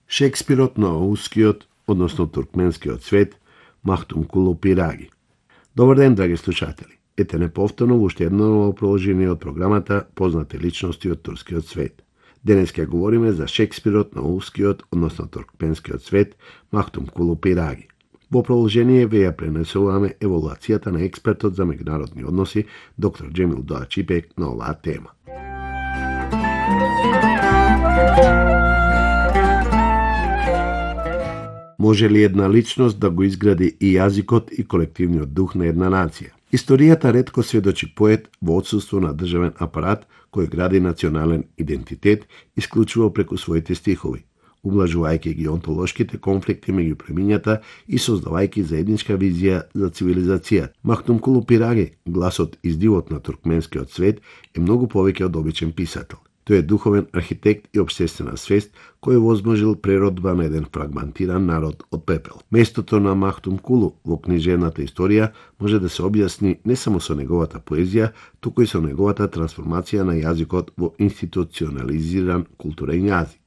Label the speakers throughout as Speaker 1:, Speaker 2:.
Speaker 1: Шекспирот на аускиот, односно туркменскиот свет, Махтум Кулу Пираги. Добар ден, драги слушатели. Ете неповторно во уште едно ново продолжение од програмата Познати личности од турскиот свет. Денес ќе говориме за Шекспирот на аускиот, односно туркменскиот свет, Махтум Кулу Пираги. Во продолжение ве ја пренесуваме еволуацијата на експертот за меѓународни односи, доктор Джемил Доачипек, на оваа тема. Може ли една личност да го изгради и јазикот и колективниот дух на една нација? Историјата ретко сведочи поет во отсуство на државен апарат кој гради национален идентитет исклучиво преку своите стихови, ублажувајќи ги онтолошките конфликти меѓу племињата и создавајќи заедничка визија за цивилизацијата. Махтум Кулу Пираги, гласот и здивот на туркменскиот свет, е многу повеќе од обичен писател. Тој е духовен архитект и општествена свест кој возможил преродба на еден фрагментиран народ од пепел. Местото на Махтум Кулу во книжевната историја може да се објасни не само со неговата поезија, туку и со неговата трансформација на јазикот во институционализиран културен јазик.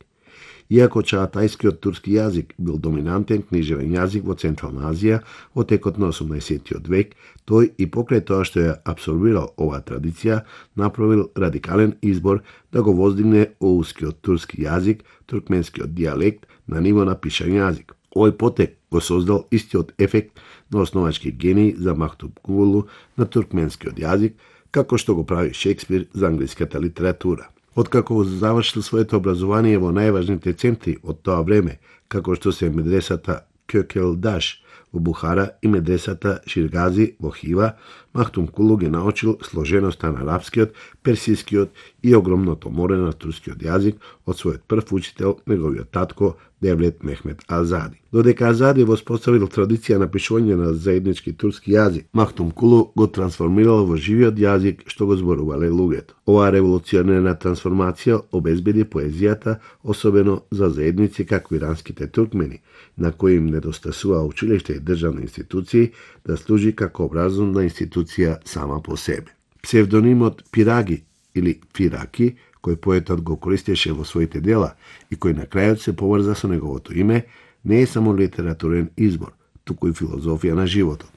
Speaker 1: Иако чаатајскиот турски јазик бил доминантен книжевен јазик во Централна Азија во текот на 18 век, тој и покрај тоа што ја абсорбирал оваа традиција, направил радикален избор да го воздигне аускиот турски јазик, туркменскиот дијалект, на ниво на пишан јазик. Овој потек го создал истиот ефект на основачки гений за Махтум Кулу на туркменскиот јазик, како што го прави Шекспир за англиската литература. Откако завршил своето образование во најважните центри од тоа време, како што се медресата Кёкелдаш во Бухара и медресата Ширгази во Хива, Махтум Кулу ги научил сложеноста на арапскиот, персискиот и огромното море на турскиот јазик од својот прв учител, неговиот татко Девлет Мехмед Азади. Додека Азади воспоставил традиција на пишување на заеднички турски јазик, Махтум Кулу го трансформирал во живиот јазик што го зборувале луѓето. Оваа револуционерна трансформација обезбеди поезијата, особено за заедници како иранските туркмени, на кои им недостасува училиште и државни институции, да служи како образовна институција сама по себе. Псевдонимот Пираги или Фираки, кој поетот го користеше во своите дела и кој на крајот се поврза со неговото име, не е само литературен избор, туку и филозофија на животот.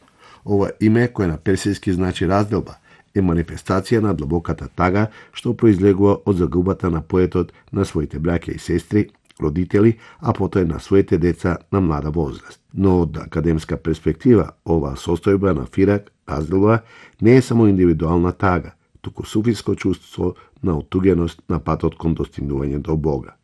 Speaker 1: Ова име, кое на персиски значи разделба, е манифестација на длабоката тага што произлегува од загубата на поетот на своите браќа и сестри, родители, а потоа на своите деца на млада возраст. Но од академска перспектива, оваа состојба на фирак, разделба, не е само индивидуална тага, туку суфиско чувство на оттугеност на патот кон достигнување до Бога.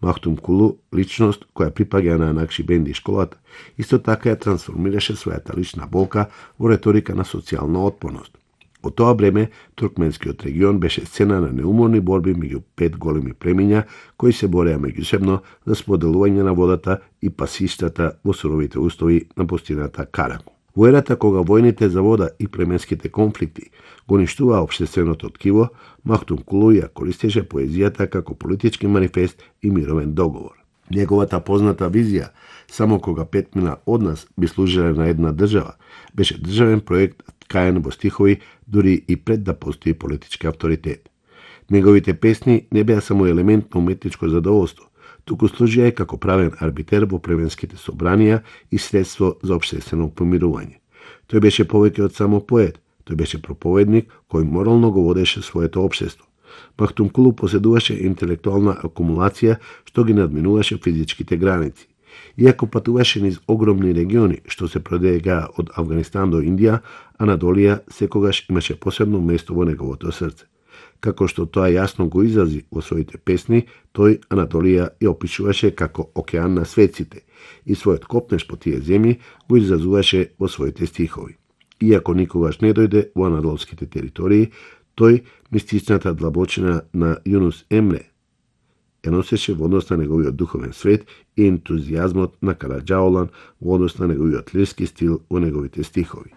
Speaker 1: Махтум Кулу, личност која припаѓа на Накшибенди школата, исто така ја трансформираше својата лична болка во реторика на социјална отпорност. Во тоа време, туркменскиот регион беше сцена на неуморни борби меѓу 5 големи племиња кои се бореа меѓусебно за споделување на водата и пасиштата во суровите услови на пустината Караку. Во ерата кога војните за вода и племенските конфликти го уништуваа општественото ткиво, Махтум Кулу ја користеше поезијата како политички манифест и мировен договор. Неговата позната визија, само кога 5 мила од нас би служиле на една држава, беше државен проект ткаен во стихови дури и пред да постои политички авторитет. Неговите песни не беа само елемент на уметничко задоволство, туку служија како правен арбитер во племенските собранија и средство за општествено помирување. Тој беше повеќе од само поет, тој беше проповедник кој морално го водеше своето општество. Махтум Кулу поседуваше интелектуална акумулација што ги надминуваше физичките граници. Иако патуваше низ огромни региони што се продега од Авганистан до Индија, Анадолија секогаш имаше посебно место во неговото срце. Како што тоа јасно го изрази во своите песни, тој Анатолија ја опишуваше како океан на светците и својот копнеж по тие земји го изразуваше во своите стихови. Иако никогаш не дојде во анадолските територии, тој мистичната длабочина на Јунус Емре ја носеше во однос на неговиот духовен свет и ентузијазмот на Караджаолан во однос на неговиот лирски стил во неговите стихови.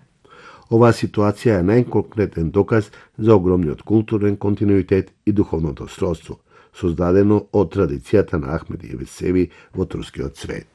Speaker 1: Оваа ситуација е најконкретен доказ за огромниот културен континуитет и духовното сродство, создадено од традицијата на Ахмеди Евсеви во турскиот свет.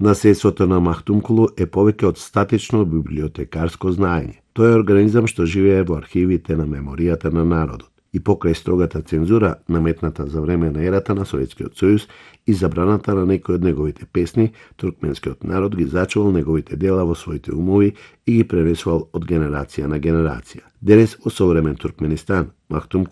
Speaker 1: Наследството на Махтумкулу е повеќе од статично библиотекарско знаење. Тој е организам што живее во архивите на меморијата на народот. И покрај строгата цензура, наметната за време на ерата на Советскиот сојуз и забраната на некои од неговите песни, туркменскиот народ ги зачувал неговите дела во своите умови и ги пренесувал од генерација на генерација. Денес во современ Туркменистан, Махтумкулу